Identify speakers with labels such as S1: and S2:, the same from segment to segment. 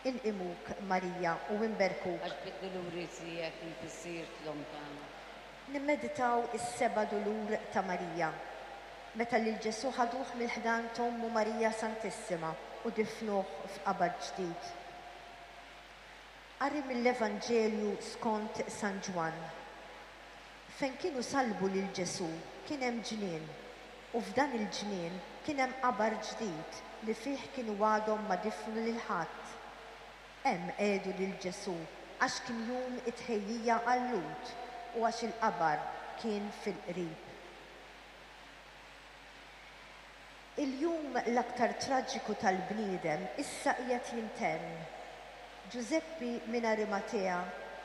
S1: Inqimuk, Marija, u inberkuk.
S2: Għax bid-duluri tiegħek inti sirt l-Omm tagħna.
S1: Nimmeditaw is-seba' dulur ta' Marija, meta lil Ġesù ħaduh mill-ħdan t'Ommu Marija Santissima u difnuh f'qabar ġdid. Qari mill-Evanġelju skont San Ġwann. Fejn kienu sallbu lil Ġesù kien hemm ġnien, u f'dan il-ġnien kien hemm qabar ġdid li fih kienu għadhom ma difnu lil ħadd. Hemm qiegħdu lil Ġesù għax kien jum it-tħejjija għal-Lhud u għax il-qabar kien fil-qrib. Il-jum l-aktar traġiku tal-bniedem issa qiegħed jintemm. Ġużeppi minn Arimatea,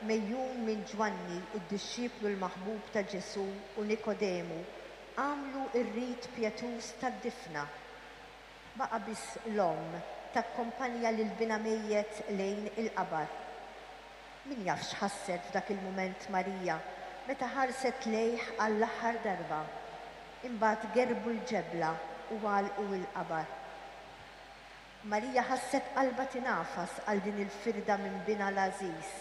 S1: megħjun minn Ġwanni, id-dixxiplu l-maħbub ta' Ġesù, u Nikodemu, għamlu r-rit pjetuż tad-difna. Baqa' biss l-omm takkompanja lil binha mejjet lejn il-qabar. Min jaf x'ħasset f'dak il-mument Marija meta ħarset lejh għall-aħħar darba. Imbagħad gerrbu l-ġebla u għalqu l-qabar. Marija ħasset qalbha tingħafas għal din il-firda minn binha l-għażiż.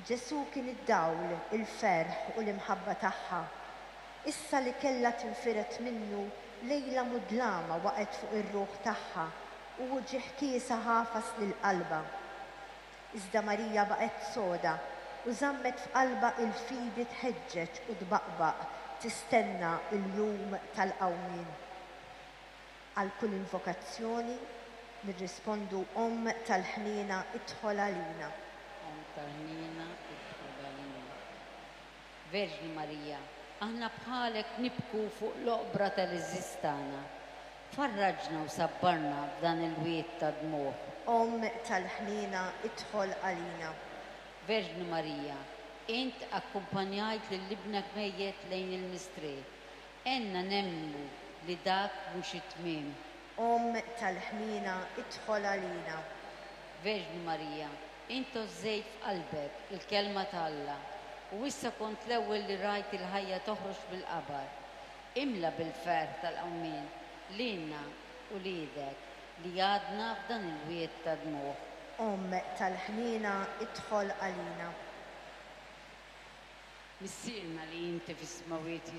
S1: Ġesù kien id-dawl, il-ferħ u l-imħabba tagħha. Issa li kellha tinfired minnu, lejla mudlama waqgħet fuq ir-ruħ tagħha u uġigħ kiesaħ għafas lil qalbha. Iżda Marija baqgħet soda u żammet f'qalbha il-fidi tħeġġeġ u tbaqbaq tistenna l-jum tal-qawmien. Għal kull invokazzjoni nirrispondu Omm tal-ħniena idħol għalina.
S2: Omm tal-ħniena idħol għalina. Verġni Marija, aħna bħalek nibku fuq l-oqbra tal-għeżież tagħna. Farraġna u sabbarna f'dan il-wied ta' dmugħ.
S1: Omm tal-ħniena idħol għalina.
S2: Verġni Marija, int akkumpanjajt lil Ibnek mejjet lejn il-mistrieħ. Għenna nemmnu li dak mhux it-tmiem.
S1: Omm tal-ħniena idħol għalina.
S2: Verġni Marija, int għożżejt f'qalbek il-Kelma ta' Alla u issa kont l-ewwel li rajt il-ħajja toħroġ mill-qabar. Imla bil-ferħ tal-qawmien lilna uliedek li għadna f'dan il-wied ta' dmugħ.
S1: Omm tal-ħniena idħol għalina.
S2: Missierna li inti fis-smewwiet.